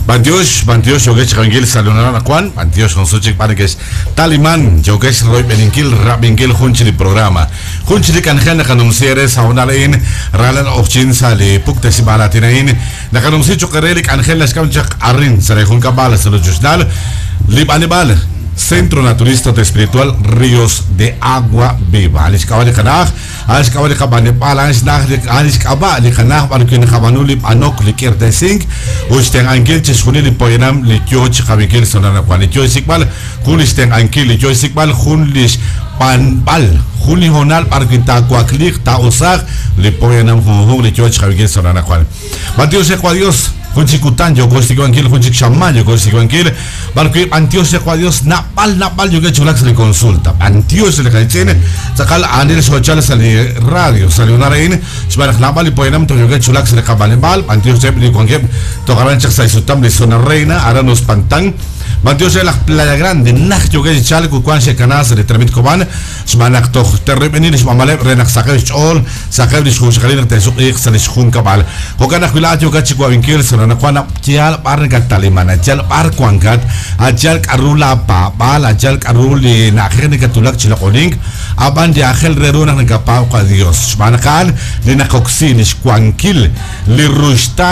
B'antiox, b'antiox yokex xqankil sa' lunara anaqwan, b'antiox jun sut chik b'ar nekex taliman, yokex royb'eninkil rab'inkil jun chik li programa. Jun chik li k'anjel naqanumsi eere sa' hoonal a'in, raalal q'oqyink sa' li puktesib'aal aatin a'in, naqanumsi cho'q eere li k'anjel naxk'am chaq arin sa' li junkab'al sa' rochochnaal li b'aneb'aal Centro Naturista Espiritual Ríos de Agua Viva. Li xk'ab'a' li qana'aj A'an xk'ab'a' li qab'aneb'aal, a'an xna'aj li a'an lix k'ab'a' li qana'aj b'ar wi' naqab'aanu li b'anok, li k'irtesink, ut xtenq'ankil chixjunil li poyanam li yoo chiqab'inkil sa' anaqwan, li yoo xsik'b'al jun lix tenq'ankil, li yoo xsik'b'al jun lix b'anb'al, jun li hoonal b'ar wi' taawakliiq, taa'usaaq li poyanam junjunq li yoo chiqab'inkil sa' anaqwan. B'antiox re Qwa Dios, jun chik kutan yooko xsik'b'ankil, jun chik xamaan yooko xsik'b'ankil, b'ar wi' b'antiox re Qwa Dios, nab'al nab'al yookeb' chi wulak sa' li consulta. B'antiox re li qalitz'in, tz'aqal aanil xoochal sa' li radio, sa' li hoonal a'in, xb'aan naq naab'al li poyanam toj yookeb' chi wulak sa' li qab'aneb'aal, b'antiox reheb' li wankeb' toj aran chaq sa' xsutam li Zona Reina, aran Uspantán, b'antiox re laj Playa Grande, najt yookeb' chi chalk ut wank xe'kana sa' li tenamit Cobán, Xb'aan naq toj te'royb'eni li xb'anb'aleb' re naq saqeb' xch'ool, saqeb' li xjunxaqalil naq te'suq'iiq sa' li xjunkab'al. Jo'kan ajwi' laa'at yookat chi wab'inkil sa' anaqwan naq yaal b'ar nakattaliman, yaal b'ar wankat, yaal k'aru laapaab'aal, yaal k'aru li na'ajej nakatwulak chi loq'onink, ab'an li aajel re ru naq nakapaab' qaYos. Xb'aan naq a'an li naqoksi li xwankil li ruxtaan.